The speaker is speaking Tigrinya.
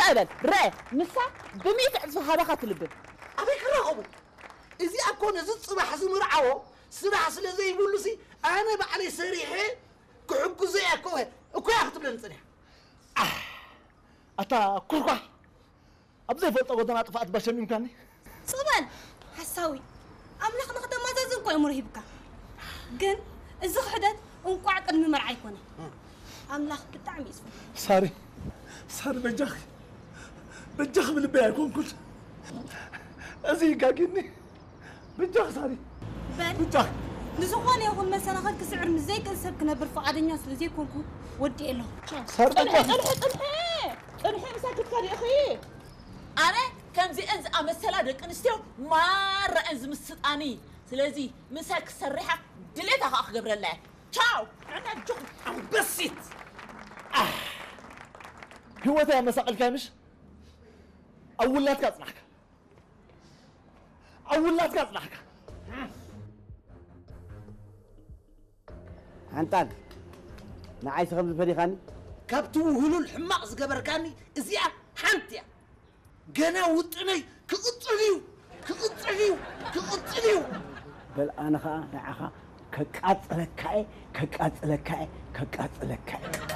ኣበል ረ ንሳ ብሚእቲ ዕጽፊ ሃባኻ ትልብም። ኣበይ ክራኸቡ? እዚኣ እኮ ነዚ ጽባሕ ዝምርዓዎ ስራሕ ስለ ዘይብሉሲ ኣነ ባዕለይ ሰሪሐ ክሕግዞ እያ እኮ እኮ እያ ክትብለኒ ጽኒሓ። ኣታ ኩርኳሕ፣ ኣብ ዘይፈልጦ ጎደና ጥፍኣት ባሸሚምካኒ። ጽበል ሓሳዊ። ኣምላኽ ንኽተማዛዝን እኮ እሞ ሂብካ። ግን እዚ ክሕደት እንቋዕ ቅድሚ መርዓ ኣይኮነ። ኣምላኽ ብጣዕሚ እዩ ዝፈርድ። ሳሪ፣ ሳሪ በጃኺ፣ በጃኺ ብልበይ ኣይኮንኩን። እዚ ይጋጊኒ። በጃኺ ሳሪ፣ በል በጃኺ። ንዝኾነ ይኹን መሰናኽል ክስዕር ምስ ዘይክእል ሰብ ክነብር ፍቓደኛ ስለ ዘይኮንኩ ወዲኤ ኣለኹ። ሳሪ ጽንሒ በጃኺ። ጽንሒ ጽንሒ ጽንሒ ምሳክትካ ዲእኺ። ኣነ ከምዚአን ዝኣመሰላ ደቂ ኣንስትዮ ማራ እየን ዝምስጣኒ። ስለዚ ምሳይ ክሰርሓ ድሌታ ከዓ ክገብረላ እየ። ቻው። ኣነ ኣጆኹም። ኣንበሲት። ኣህ፣ ህይወተይ ኣመሳቐልካ ምሽ? ኣብ ውላድካ ኣጽናሕካ፣ ኣብ ውላድካ ኣጽናሕካ። ሓንጣል፣ ንዓይሲ ከም ዝፈሊኻኒ? ካብቲ ውህሉል ሕማቕ ዝገበርካኒ እዚኣ ሓንቲ እያ። ገና ውጥነይ ክቕጽል እዩ፣ ክቕጽል እዩ፣ ክቕጽል እዩ። በል ኣነ ኸኣ ንዓኻ ከቃጽለካ እየ፣ ከቃጽለካ እየ፣ ከቃጽለካ እየ።